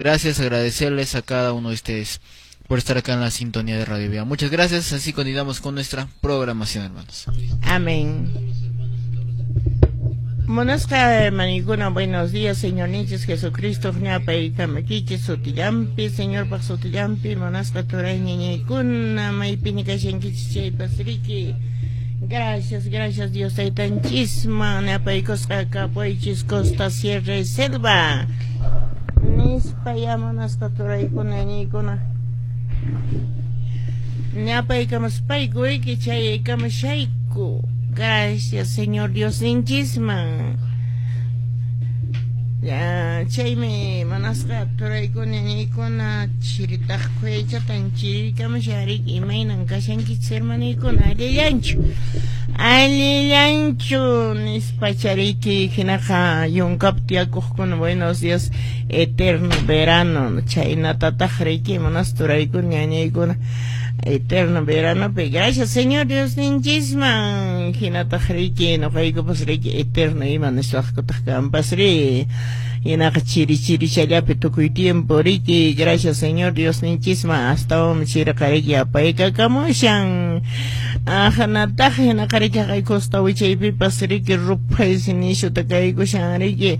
Gracias, agradecerles a cada uno de ustedes por estar acá en la sintonía de Radio Vida. Muchas gracias, así continuamos con nuestra programación, hermanos. Amén. Munasqa hermanikuna, buenos días, Señor ninchis Jesucristo, ñapaykamaykichis sutillampi, Señorpaq sutillampi, munasqa turay ñañaykuna, maypini kashankichis chaypas riki. Gracias, gracias Dios taytanchisman, ñapaykusqa kapuaychis costa, sierra y selva. Nispa ya munasqa turaykuna, ñañaykuna. Ñapaykamuspayku riki chayaykamushayku. Gracias, Señor Dios ninchisman. Ya, chaymi munasqa turaykuna, ñañaykuna, chiritaq khuyachatan chirikamushariki, imaynan kashankichis hermanaykuna, allillanchu. Allillanchu nispa chariki hinaqa yunkapi tiyakuqkuna, buenos días, eterno verano, chaynatataq riki munasqa turaykuna, ñañaykuna, eterno verano, pe gracias Señor Dios ninchisman, hinataq riki nuqaykupas riki eterno ima niswaqkutaq kanpas ri, hinaqa chiri chirichallapi tukuy tiempo riki, gracias Señor Dios ninchisman, astawan chiriqa riki apaykakamushan, ahanataq hinaqa riki haqay costa wichaypipas riki ruphay sinishuta kaykushan riki,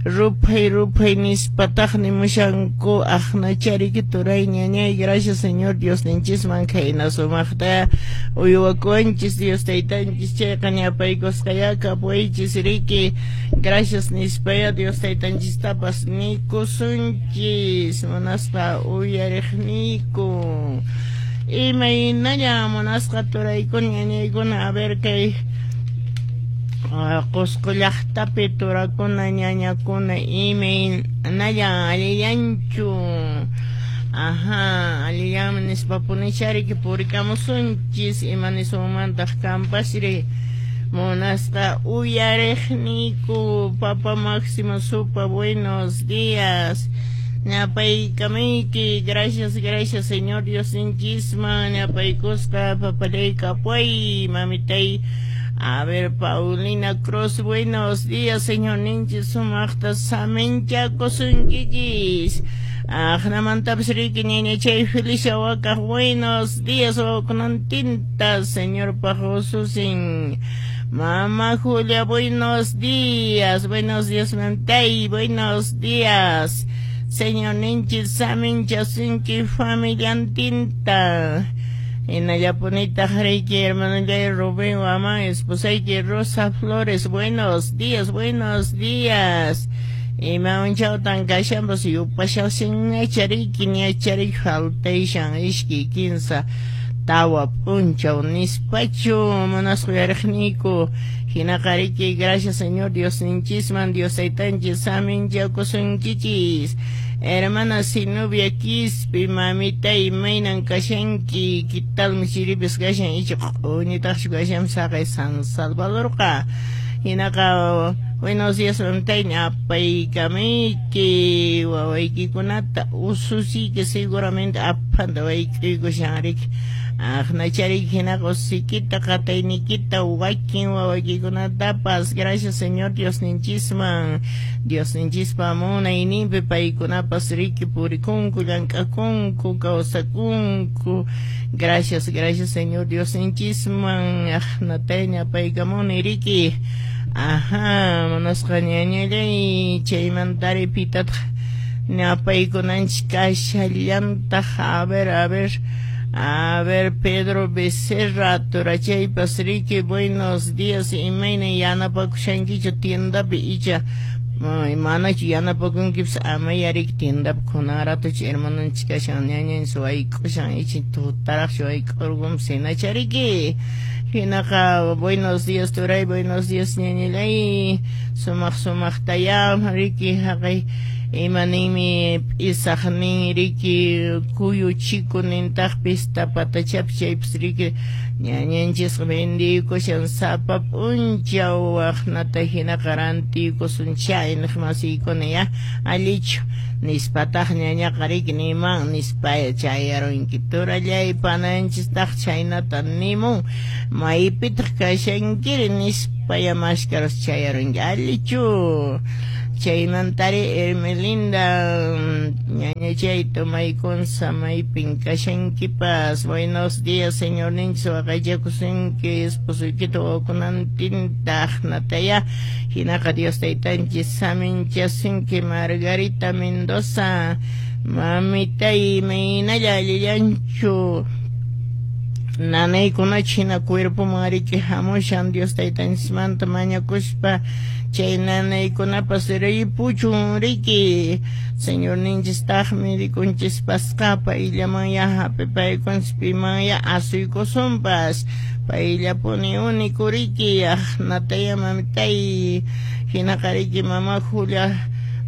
ruphay ruphay nispataq nimushanku aqnacha riki turay ñañay, gracias Señor Dios ninchisman khayna sumaqta uywakuwanchis Dios taytanchis chayqa ñapaykusqaya kapuwaychis riki, gracias nispaya Dios taytanchistapas nikusunchis munasqa uyariqniyku. Imaynalla munasqa turaykuna ñañaykuna, a ver kay Qusqu llaqtapi turakuna ñañakuna imaynalla allillanchu. Ajá, allillanmi nispapunichariki purikamusunchis ima nisunmantaq kanpasri munasqa uyariqniyku. Papa Máximo Supa, buenos días. Ñapaykamayki, gracias, gracias Señor Dios ninchisman, ñapaykusqa papalay kapuay, mamitay. A ver, Paulina Cruz, buenos días, Señor ninchis sumaqta saminchakusunkichis. Aqnamantapas riki ñañachay Felicia Wakaq, buenos días, wawakunantinta, Señorpaq ususin. Mamá Julia, buenos días, mamtay, buenos días. Señor ninchis saminchasunki familiantinta. Hinallapunitaq riki hermanallay Rubén Guamán, esposayki Rosa Flores, buenos días, buenos días. Ima unchawtan kashanpas yupashawsinñacha riki ñachariki faltayshan ishkay kinsa tawa p'unchaw nispachu munasqa uyariqniyku. Hinaqa riki gracias Señor Dios ninchisman, Dios taytanchis saminchakusunkichis. Hermana Zenobia Quispe, mamita imaynan kashanki, ¿qué tal chiripis kashan icha q'uñitaqchu kashan saqay San Salvadorqa. Hinaqa buenos días mamitay, ñapaykamayki wawaykikunata ususiyki seguramente aphanta wayk'uykushan riki. Aqnachariki hinaqa ususikita qatayniykita wakin wawaykikunatapas gracias Señor Dios ninchisman, Dios ninchispa munayninpi paykunapas riki purikunku, llank'akunku, kawsakunku. Gracias, gracias Señor Dios ninchisman, aqnatay ñapaykamuni riki. Ajá, munasqa ñañallay chaymantari pitataq ñapaykunanchis kashallantaq. A ver, a ver, a ver, Pedro Becerra, turachaypas riki, buenos días, imayna yanapakushankichu tiendapi icha manachu yanapakunkipas amaya riki tiendapi kunan ratuchu hermanonchis kashan ñañanchis wayk'ushan icha tutaraqchu wayk'urqunpas hinacha riki. Hinaqa buenos días turay, buenos días ñañallay, sumaq sumaqtaya riki haqay ima ninmi p'isaq nin riki kuyu chiku nintaqpis tapatachapi chaypis riki ñañanchisqa vendiykushan sapa p'unchaw waqnata hinaqa rantiykusun chay niq masiykuna ya allichu nispataq ñañaqa riki niman nispa chayarunki turallay pananchistaq chaynata nimun maypitaq kashankiri nispaya mashkarus chayarunki allichu. Chaymantari Hermelinda ñañachay tomaykun samaypin kashankipas. Buenos días, señorninchis waqaychakusunki esposoykita wawakunantintaq nataya hinaqa Dios taytanchis saminchasunki. Margarita Mendoza mamitay maynalla allillanchu nanaykunachu hina cuerpoman riki hamushan Dios taytanchismanta mañakuspa chay nanaykunapas ripuchun riki. Señorninchistaqmi rikunchispasqa payllaman hap'ipaykunchis piman asuykusunpas payllapuni único riki. Nataya mamitay hinaqa riki mama Julia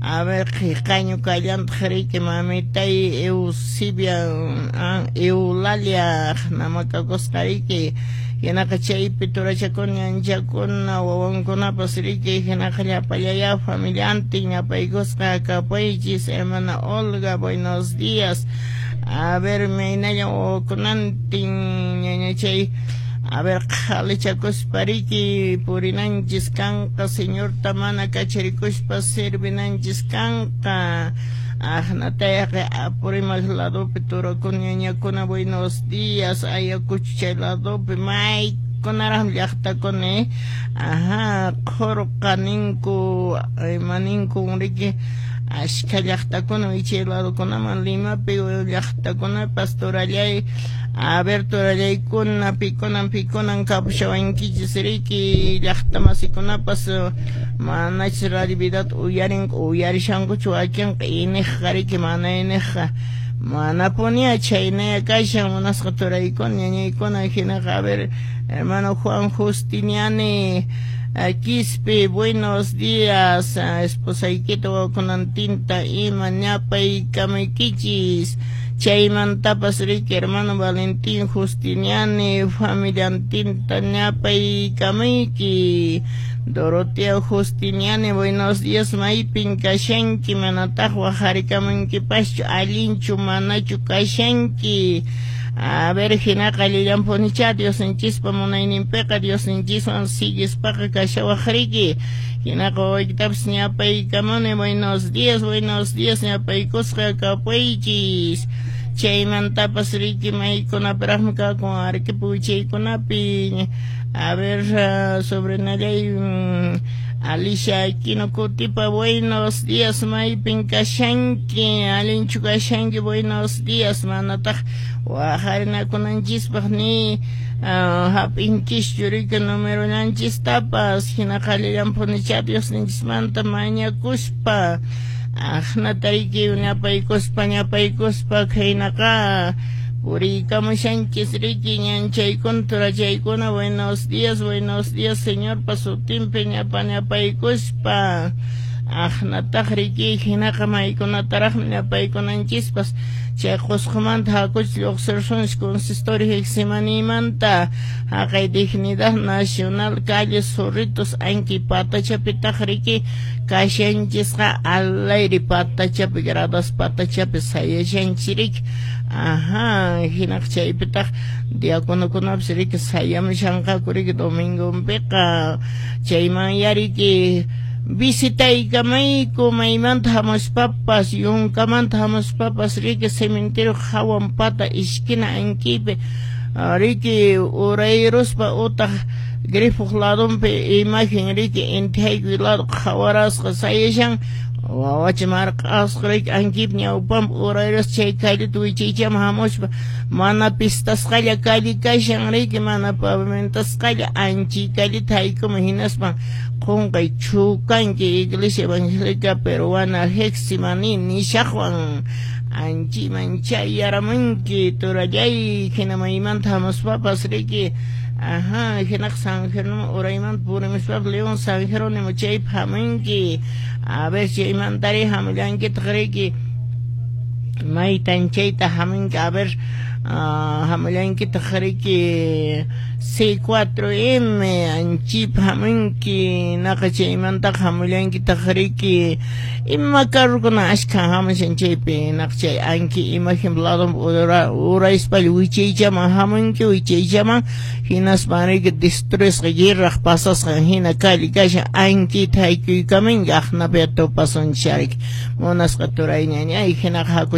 a ver qiqañu kallantaq riki mamitay Eusebia Eulalia namakakusqa riki hinaqa chaypi turachakuna ñanchakuna wawankunapas riki hinaqa llapallaya familiantin ñapaykusqa kapaychis. Hermana Olga, buenos días. A ver maynalla wawakunantin ñañachay a ver qhalichakuspa riki purinanchis kanqa Señorta mana kacharikuspa servinanchis kanqa. Aqnatayaqa Apurímac ladopi turakuna ñañakuna buenos días. Ayacucho chay ladopi maykunaraqmi llaqtakuna ajá qhurqa ninku imaninku riki ashka llaqtakuna chay ladokunaman Limapi llaqtakunapas turallay. A ver turallaykuna pikunan pikunan kapushawankichis riki llaqtamasikunapas manachis Radio Vidata uyarinku uyarishankuchu wakinqa iniqqa riki mana iniqqa manapuniya chaynaya kashan munasqa turaykuna ñañaykuna hinaqa. A ver hermano Juan Justiniani Quispe, buenos días. Esposaykita wawakunantinta ima ñapaykamaykichis. Chaymantapas riki hermano Valentín Justiniani familiantinta ñapaykamayki. Dorotea Justiniani, buenos días. Maypin kashanki manataq waqharikamunkipaschu allinchu manachu kashanki. A ver hinaqa allillanpunicha Diosninchispa munayninpiqa Diosninchiswan siguispaqa kashawaq riki. Hinaqa wawaykitapas ñapaykamuni. Buenos días, buenos días ñapaykusqa kapaychis. Chaymantapas riki maykunapiraqmi kakun Arequipa wichaykunapi. A ver sobrinallay Alicia Aquino Cutipa, buenos días. Maypin kashanki allinchu kashanki buenos días. Manataq waqharinakunanchispaq ni hap'inchischu riki numerollanchistapas hinaqa allillanpunicha Diosninchismanta mañakuspa aqnata riki ñapaykuspa ñapaykuspa khaynaqa puriykamushanchis riki ñanchaykuna turachaykuna. Buenos días, buenos días Señorpa sutinpi ñapa ñapaykuspa aqnataq riki hinaqa maykunataraqmi ñapaykunanchispas chay Qusqumanta hakuch lluqsirsunchis consistorio Getsemanímanta haqay Dignidad Nacional calle Zorritos anki patachapitaq riki kashanchisqa alayri patachapi gradas patachapi sayashanchis riki. Ajá hinaqa chaypitaq diaconokunapas riki sayamushanqaku riki domingonpiqa chayman yariki visitaykamayku maymanta hamuspapas yunkamanta hamuspapas riki cementerio hawan pata esquina ankipi riki urayruspa utaq grifoq ladonpi imagen riki inti haykuy lado qhawarasqa sayashan wawacha marq'asqa riki ankipi ñawpanpi urayruspa chay calleta wichaychaman hamuspa mana pistasqalla calle kashan riki mana pavimentasqalla anchi calleta haykuman hinaspan qunqay chukanki Iglesia Evangélica Peruana Getsemaní nishaqwan anchiman chayaramunki turallay hina maymanta hamuspapas riki. Ajá hinaqa San Jerónimo uraymanta purimuspapas León San Jerónimo chaypi hamunki. A ver chaymantari hamullankitaq riki maytan chayta hamunki. A ver Hamullankitaq riki C4M anchip hamunki, naqa chaymantaqa hamullankitaq riki ima carrokuna ashkhan hamushan chaypi, naqa chay anki imagen lado uraspalla wichaychaman hamunki, wichaychaman hinaspan riki destruisqa guerraq pasasqan hina calle kashan, ankita haykuykaminki, aqnapi tupasunchik munasqa turay ñañay, hinaqa haku.